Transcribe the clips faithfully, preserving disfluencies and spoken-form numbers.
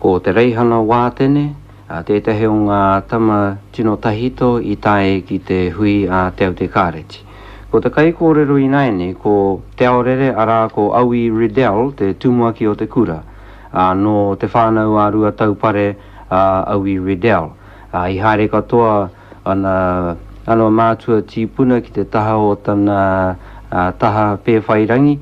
Ko Te Reihana Wātene, tētahi o ngā tama tino tahito i tae ki te hui a Te Aute Kāreti. Ko te kaikōrero ināianei ko Te Aorere arā ko Awi Riddell te tumuaki o te kura. Ā, nō Te Whānau a Ruataupare a Awi Riddell. Ā, i haere katoa ana, ana mātua tīpuna ki te taha o tana taha Pēwhairangi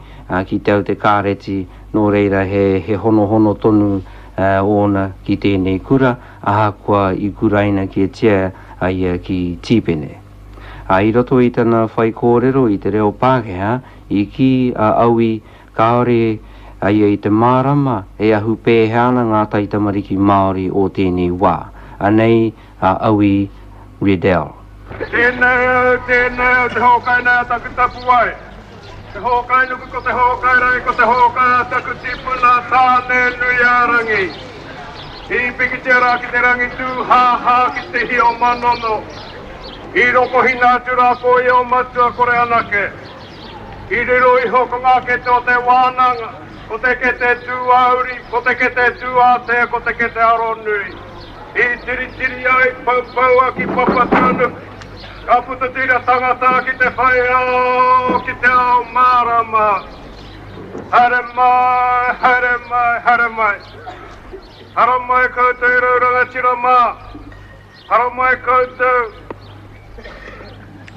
ki Te Aute Kāreti, nō reira he, he honohono tonu ōna ki tēnei kura, ahakoa i kuraina kētia a ia ki Tīpene. Ā, i roto i tana whaikōrero i te reo Pākehā, i kī a Awi kāore a ia i te mārama e ahu pēhea ana ngā taitamariki Māori o tēnei wā. Anei a Awi Riddell. Tēnei au, tēnei au, te hōkai nei a taku tapuwae. Te hōkai nuku ko te hōkai rangi, ko te hōkai a taku tipuna Tāne-nui-ā-rangi. I pikitia rā ki te rangi tūhāhā ki te hi o Manono. I rokohina atu rā ko ia o Matua Kore anake. I riro iho ko ngā kete o te wānanga, ko te kete tūāuri, ko te kete tūātea, ko te kete aronui. I tiritiri ai, poupoua ki Papatūānuku, ka puta te ira tangata ki te whai ao, ki te ao mārama. Haere mai, haere mai, haere mai. Haramai koutou e rau rangatira mā. Haramai koutou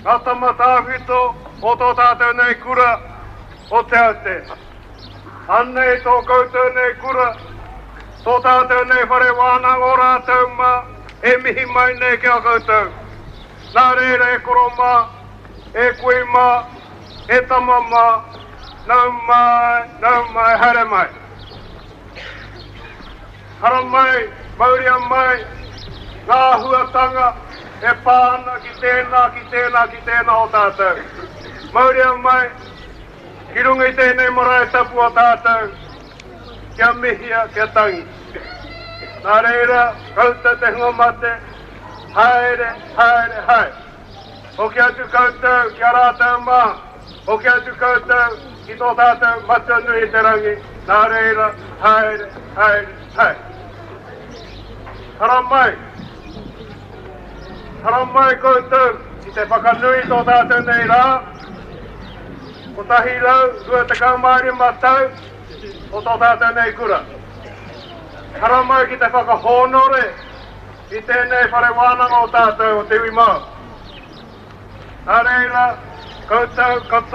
ngā tama tāwhito o tō tātou nei kura o Te Aute. Anei tō koutou nei kura, tō tātou nei whare wānanga o rātou mā e mihi mai nei ki a koutou. Nā reira e koro mā, e kui mā, e tama mā, nau mai, nau mai, haere mai. Haramai, mauria mai ngā āhuatanga e pā ana ki tēnā, ki tēnā, ki tēnā o tātou. Mauria mai ki runga i tēnei marae tapu o tātou, kia mihia, kia tangi. Nā reira, koutou te hunga mate, haere, haere, haere. Hoki atu koutou ki a rātou mā, hoki atu koutou ki tō tātou Matua nui i te rangi, nā reira, haere, haere, haere. Haramai, haramai koutou ki te whakanui i tō tātou nei rā, kotahi rau, rua tekau mā rima tau o tō tātou nei kura. Haramai ki te whakahōnore i tēnei whare wānanga o tātou o te iwi Māori. Nā reira, koutou katoa.